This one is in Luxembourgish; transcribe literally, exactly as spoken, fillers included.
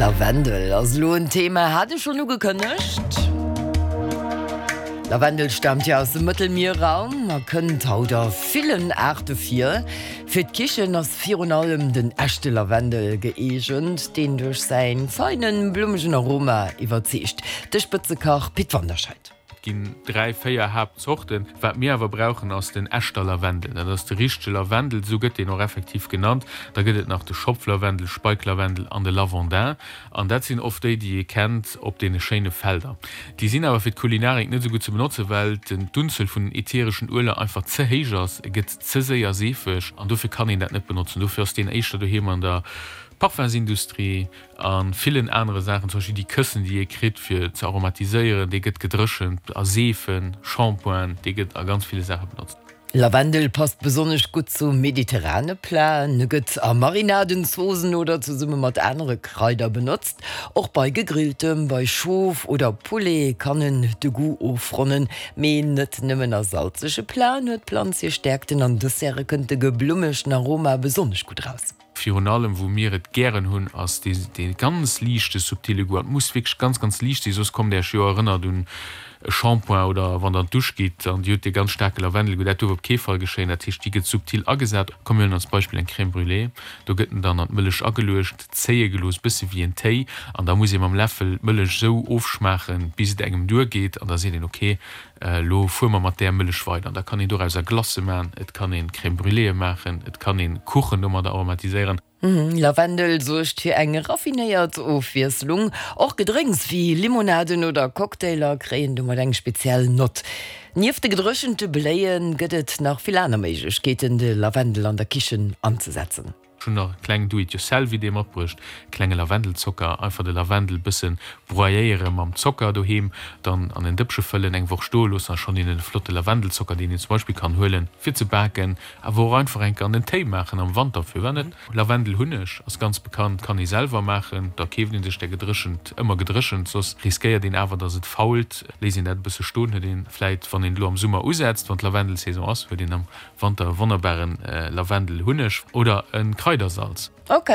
Lavendel ass lo en Thema, hat ech schonn ugekënnegt. Lavendel staamt jo aus dem Mëttelmierraum a kënnt haut a villen Aarte vir. Fir d'Kichen ass virun allem den echte Lavendel gëeegent, deen duerch säi feinen, blummegen Aroma iwwerzeegt. De Spëtzekach Pit Wanderscheid. Et ginn dräi, véier Haaptzorten. Wat mir awer brauchen, ass den echter Lavendel. Dat ass de richtege Lavendel, esou gëtt deen och effektiv genannt. Da gëtt et nach de Schopflavendel, Speiklavendel an de Lavandin. An dat sinn oft déi, déi ee kennt op deene schéine Felder. Déi sinn awer fir d'Kulinarik net esou gutt ze benotzen, well d'Unzuel vun den äthereschen Ueler einfach ze héich ass. E gëtt ze séier seefeg an dofir kann een dat net benotzen. Dofir ass deen éischter doheem an der Parfumsindustrie a villen anere Saachen, zum Beispill déi Këssen, déi ee kritt fir ze aromatiséieren, dee gëtt gedréchent a Seefen, Shampointen, dee gëtt a ganz ville Saache benotzt. Lavendel passt besonnesch gutt zu mediterrane Platen, e gëtt a Marinaden, Zoossen oder zesumme mat anere Kraider benotzt. Och bei Gegrilltem, bei Schof oder Poulet kann en de Goût ofronnen. Mee net nëmmen a salzege Platen huet d'Planz hir Stäerkten, an Desserte kënnt de geblummegten Aroma besonnesch gutt raus. Virun allem wou mir et gären hunn, ass dee dee ganz liichte subtile Goût. An et muss wierklech ganz, ganz liicht sinn, soss kommt Iech jo erënnert un e Shampoing oder wann Der an d'Dusch gitt an Dir hutt dee ganz staarke Lavendelgoût. Dat duerf op kee Fall geschéien. Dat heescht, déi gëtt subtil agesat. Komm mir huelen als Beispill eng Crème brûlée. Do gëtt en dann an d'Mëllech ageluecht, zéie gelooss, bësse wéi en Téi. An da muss ee mam Läffel d'Mëllech esou ofschmaachen, bis et engem duergeet. An da seet een, ok, Elo fuere mer mat där Mëllech weider. An da kann een dorauser Glacë maachen, et kann een Crème brûléeë maachen, et kann een Kuchen domadder aromatiséieren. Lavendel suergt fir eng raffinéiert Ofwiesslung. Och Gedrénks wéi Limonaden oder Cocktailer kréien domat eng speziell Nott. Nieft de gedréchente Bléie gëtt et nach vill aner Méiglechkeeten, de Lavendel an der Kichen anzesetzen. Ech hunn nach e kleng Do-it-yourself-Idee matbruecht, klenge Lavendelzocker, einfach de Lavendel bëssen broyéiere mam Zocker doheem, dann an en Dëppche fëllen, eng Woch stoe loossen a schonn hunn een e flotte Lavendelzocker, deen een zum Beispill kann huelen fir ze baken, awer och einfach enke an den Téi maachen am Wanter, firwat net? Lavendelhunneg ass ganz bekannt, kann ee selwer maachen, da keeft een sech der gedréchent, ëmmer gedréchent, soss riskéiert een awer dass et fault. Léisst een dat e bësse stoen, huet een vläit, wann een elo am Summer usetzt, wann d'Lavendelsaison ass, huet een am Wanter e wonnerbaren Lavendelhunneg oder e Kraidersalz. Ok.